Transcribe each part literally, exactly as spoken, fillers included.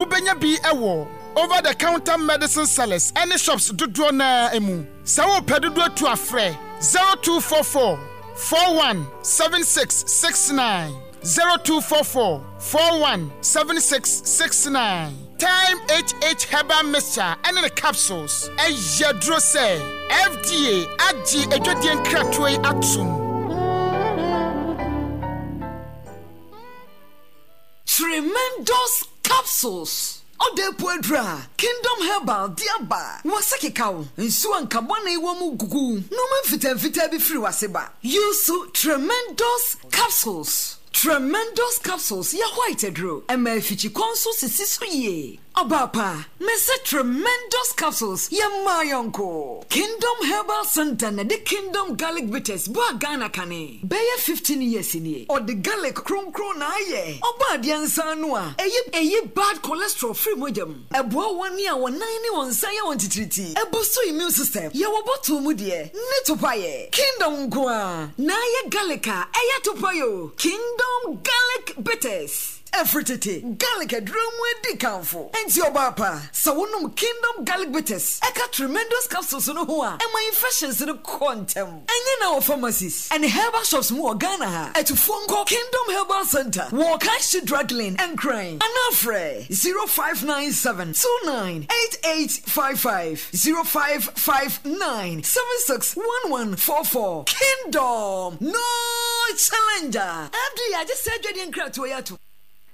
Wobɛnya bi wɔ over the counter medicine sellers ne shops dodoɔ no ara mu. Sɛ worepɛ dodoɔ tu a frɛ zero two four four four one seven six six nine, zero two four four four one seven six six nine. Thyme H H Herbal Mixture ne ne capsules yɛ aduro sɛ F D A agye adwadie nkratoɔ yi atom. Tremendous Capsules, ɔda epu aduru a Kingdom Herbal de aba. Wase kekaw nsuo a nka bɔne wɔ mu gugu nneɛma mfitamfitaa bi firi wase ba. Use Tremendous Capsules. Tremendous Capsules yɛ white aduro, ɛma afikyikɔ nso sisi so yie. Ɔbaapa, mese Tremendous Capsules yɛ mmaa yɔnko. Kingdom Herbal Center na de Kingdom Garlic Bitters baa Ghana kane bɛyɛ fifteen years nie. Ɔde garlic kronkron na ayɛ. Ɔba adeɛ nsa ano a ɛyi ɛyi bad cholesterol firi mogya mu. Ɛboa wɔn a wɔn nan ne wɔn nsa yɛ wɔn titiritii. Ɛboost immune system. Yɛwɔ bottle mu deɛ ne topayɛ. Kingdom nko a na ayɛ garlic a ɛyɛ topayɛ o. Kingdom Garlic Bitters. Ɛfiri tete, garlic aduro mu adi kamfo. Nti ɔbaa pa, sɛ wonom Kingdom Garlic Bitters ɛka Tremendous Capsules no ho a, ɛma infections no kɔ ntɛm. Ɛnyɛ na wɔ pharmacies ɛne herbal shops mu wɔ Ghana ha. Atufoɔ nkɔ Kingdom Herbal Center wɔ Kanshi Drug Lane, Nkran, anaa frɛ zero five nine seven two nine eight eight five five, zero five five nine seven six one one four four. Kingdom, no challenger. F D A agye sɛ adwadeɛ nkratoɔ yi ato.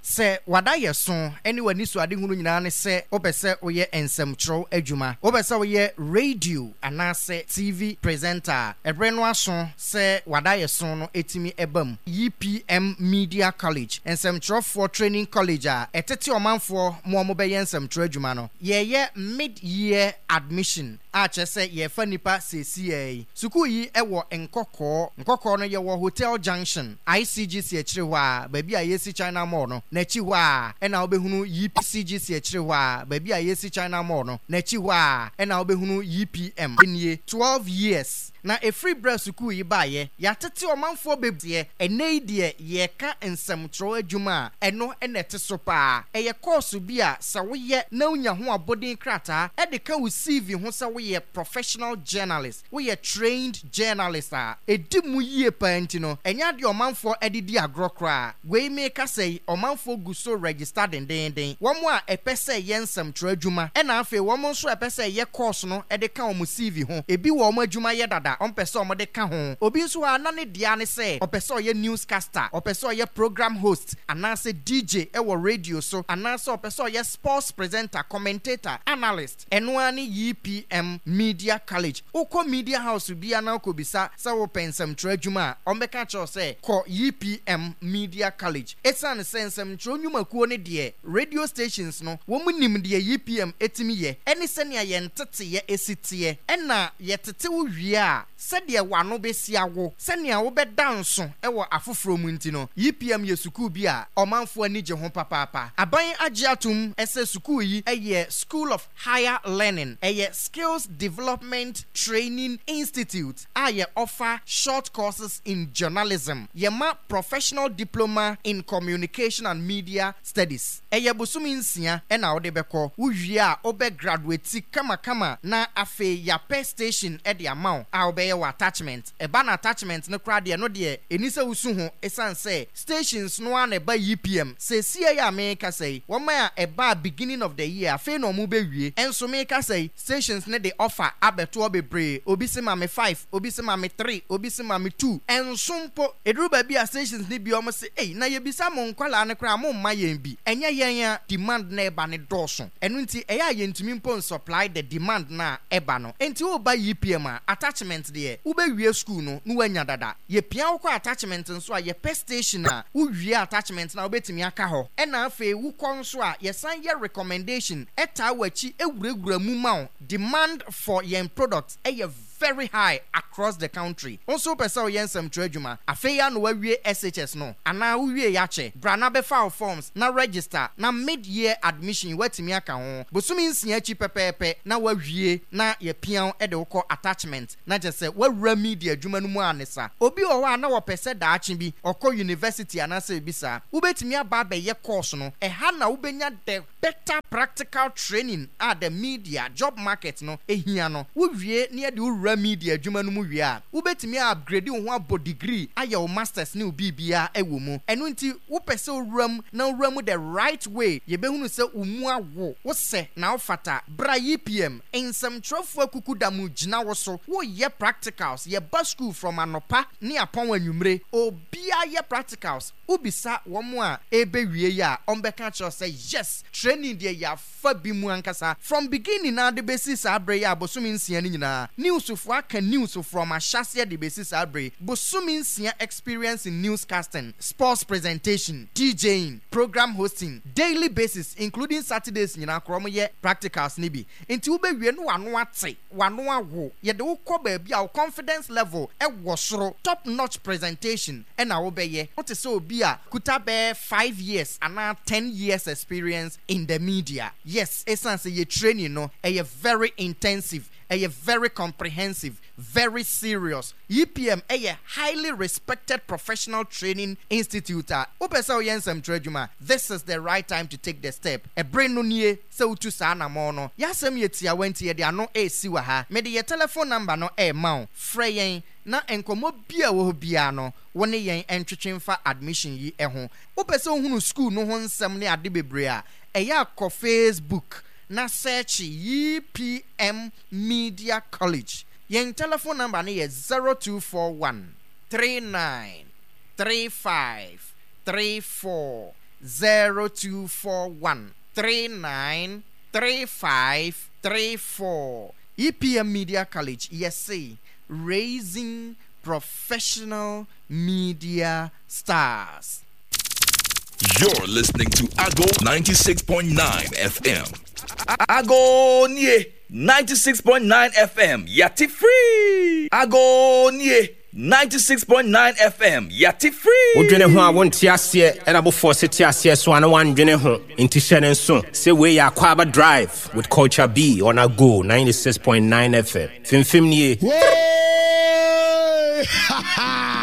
Sɛ wada yɛ so ne w'ani so adehunu nyinaa ne sɛ wopɛ sɛ woyɛ nsɛmtwerɛw adwuma, wopɛ sɛ woyɛ radio anaasɛ T V presenter a, ɛberɛ no aso sɛ wada yɛ so no ɛtumi ɛba mu. E P M Media College, nsɛmtwerɛfoɔ training college a ɛtete ɔmanfoɔ ma ɔmo bɛyɛ nsɛmtwerɛ adwuma no, yɛyɛ mid-year admission a kyerɛ sɛ yɛfa nipa seesiɛ yi. Sukuu yi ɛwɔ Nkɔkɔɔ. Nkɔkɔɔ no yɛwɔ Hotel Junction, I C G C akyire hɔ a, baabi a yɛsi China Mall no n'akyi hɔ a ɛna wobɛhunu E P C G C akyire hɔ a, baabi a yɛsi China Mall no n'akyi hɔ a ɛna wobɛhunu E P M nie. twelve years na ɛfiri berɛ sukuu yi baeɛ, yɛatete ɔmanfoɔ bebree. Ɛnɛ yi deɛ, yɛka nsɛmtwerɛ adwuma a, ɛno ɛna ɛte so paa. Ɛyɛ course bi a sɛ woyɛ na wonya ho abɔden krataa ɛde ka wo C V ho sɛ woyɛ professional journalist, woyɛ trained journalist a, ɛdi mu yie paa. Nti no ɛnyɛ adeɛ ɔmanfoɔ ɛde di agorɔ koraa. Wei meka sɛ yi, ɔmanfoɔ gu so register dendenden, wɔn a ɛpɛ sɛ yɛ nsɛmtwerɛ adwuma, ɛna afei wɔn nso ɛpɛ sɛ yɛ course no ɛde ka wɔn C V ho. Ebi wɔ wɔn adwuma yɛ dada, ɔmpɛ sɛ wɔn de ka ho. Obi nso a na ne dea ne sɛ ɔpɛ sɛ ɔyɛ newscaster, ɔpɛ sɛ ɔyɛ program host anaasɛ D J ɛwɔ radio so, anaasɛ ɔpɛ sɛ ɔyɛ sports presenter, commentator, analyst, ɛno ara ne E P M Media College. Wokɔ media house bia na wokɔbisa sɛ wopɛ nsɛmtwerɛ adwuma a, ɔmbɛka kyerɛw sɛ kɔ E P M Media College, ɛsiane sɛ nsɛmtwerɛ nnwumakuo no deɛ, radio stations no, wɔn nim deɛ E P M ɛtumi yɛ ɛne sɛnea yɛn teteyɛ esi teɛ. Ɛna yɛtete wo wie a, sɛdeɛ w'ano bɛsi awo, sɛnea wobɛda nso ɛwɔ afoforɔ mu. Nti no E P M yɛ sukuu bi a ɔmanfoɔ ani gye ho papaapa. Aban agye atom ɛsɛ sukuu yi ɛyɛ school of higher learning, ɛyɛ skills development training institute a yɛ offer short courses in journalism. Yɛma professional diploma in communication and media studies. Ɛyɛ bosome nsia ɛna wode bɛkɔ. Wowie a, wobɛ graduate kamakama na afei yɛapɛ station ɛde ama wo a wobɛyɛ wɔ attachment. Ɛba na attachment no koraa deɛ, no deɛ ɛni sɛ wosu ho, ɛsiane sɛ stations no a na ɛba E P M seesie yi a meka sɛ yi, wɔn a ɛba beginning of the year, afei na wɔn bɛwie. Ɛnso meka sɛ yi, stations ne de offer abɛtoɔ bebree. Obi sɛ ma me five, obi sɛ ma me three, obi sɛ ma me two. Ɛnso mpo ɛduru baabi a stations ne bi wɔn sɛ, ei, na yɛbisa mo nkwalaa no koraa, mo mma yɛn bi. Ɛnyɛ yɛn a demand na ɛba ne dɔɔso, ɛno nti ɛyɛ a yɛntumi mpo nsupply the demand na ɛba no. Nti woba E P M a, attachment deɛ, wobɛwie school no na woanya dada. Yɛpia wo kɔ attachment nso a, yɛpɛ station a wowie attachment na wobɛtumi aka hɔ. Ɛna afei wokɔ nso a, yɛsan yɛ recommendation ɛtaa w'akyi ewurawura mu ma wo. Demand for yɛn product ɛyɛ very high across the country. Nso wopɛ sɛ woyɛ nsɛmtwerɛ adwuma, afei ya na wawie S H S no anaa wowie yɛakyɛ, bra na bɛfa wo forms na register na mid year admission woatumi aka ho. Bosome nsia akyi pɛpɛɛpɛ na wawie na yɛpia wo de wokɔ attachment na kyerɛ sɛ woawura media adwuma no mu a ne sa. Obi wɔ hɔ a na wɔpɛ sɛ daakye bi ɔkɔ university anaasɛ ebi saa, wobɛtumi aba abɛyɛ course no ɛha na wobɛnya the Better practical training a the media job market no ehia no, wowie ne yɛde wowura media adwuma no mu wie a, wobɛtumi upgrade wo ho abɔ degree, ayɛ wo masters ne wo biribiara ɛwɔ mu. Ɛno nti wopɛ sɛ wowura mu na wowura mu the right way, yɛbɛhunu sɛ wo mu awo wo sɛ na wofata. Bra E P M. Nsɛmtwerɛfoɔ akuku da mu gyina wo so. Woyɛ practicals, yɛba school from anɔpa ne apɔn anwummere, obiara yɛ practicals. Wobisa wɔn a ɛbɛwie yi a, ɔmbɛka kyerɛ sɛ yes, training deɛ yɛafa bi mu ankasa from beginning na de bɛsi saa berɛ yi a bosome nsia no nyinaa. Newsfoɔ aka news from ahyɛseɛ de bɛsi saa berɛ yi, bosome nsia experience in newscasting, sports presentation, DJing, program hosting, daily basis including Saturdays nyinaa korɔ mo yɛ practicals ne bi. Nti wobɛwie no, wano ate, wano awo, yɛde wokɔ baabi a wo confidence level ɛwɔ soro, top notch presentation ɛna wobɛyɛ. Wote sɛ obi a kuta bɛɛ five years anaa ten years experience in the media. Yes, ɛsiane sɛ yɛ training no ɛyɛ very intensive, ɛyɛ very comprehensive, very serious. E P M ɛyɛ highly respected professional training institute a wopɛ sɛ woyɛ nsɛmtwerɛ adwuma, this is the right time to take the step. Ɛberɛ no nie sɛ wotu saa anammɔn no. Yɛasɛm yɛ tiawa nti yɛde ano ɛresi wɔ ha. Mede yɛ telephone number no ɛrema wo, frɛ yɛn na nkɔmmɔ bi a ɛwɔ hɔ biara no, wo ne yɛn ntwetwe mfa admission yi ho. Wopɛ sɛ wohunu school no ho nsɛm ne ade bebree a, ɛyɛ akɔ Facebook na search E P M Media College. Yɛn telephone number no yɛ zero two four one three nine three five three four, zero two four one three nine three five three four. E P M Media College, yɛse raising professional media stars. You're listening to Ago ninety-six point nine F M. Ago nie ninety-six point nine F M yati free. Ago nie ninety-six point nine F M yati free. Wodwene ho a wonte aseɛ, ɛna bofoɔ se te aseɛ so a na woandwene ho. Nti hyɛ ne nso sɛ wei yɛ Akwaaba Drive with Culture B on Ago ninety-six point nine F M. Fimfim nie. Hey!